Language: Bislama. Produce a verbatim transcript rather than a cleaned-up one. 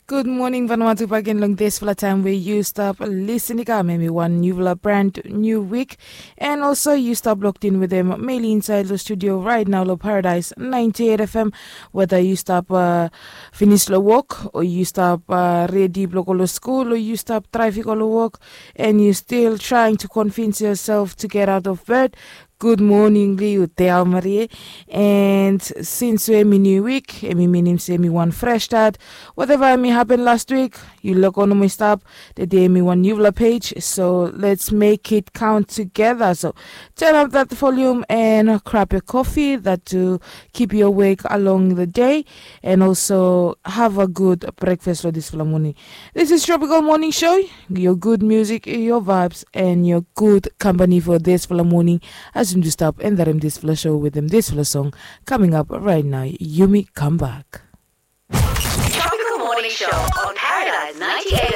Gud moning Vanuatu, bagen long dispela taim we yu stap lisin i kam em i wan niupela brand niu wik. And also yu stap loktin wetem meli insait long studio rait nau long Paradise ninety eight F M. Weda yu stap uh, finis long wok o yu stap uh, redi blong go long skul o yu stap draiv i go long wok, and yu stil trying to convince yourself to get out of bed. Gud moning long yu Del Marie. And since we em i niu wik, em i minim se em i wan fresh start. Whatever em i happen last week, yu lego nomo i stap. Today em i wan niupela page, so let's make it count together. So turn up that volume and grab your coffee, that to keep you awake along the day, and also have a good breakfast for this morning. This is Tropical Morning Show, your good music, your vibes, and your good company for this morning. As you stop and that this show with them this song coming up right now, Yumi Come Back. Tropical Morning Show on Paradise ninety-eight.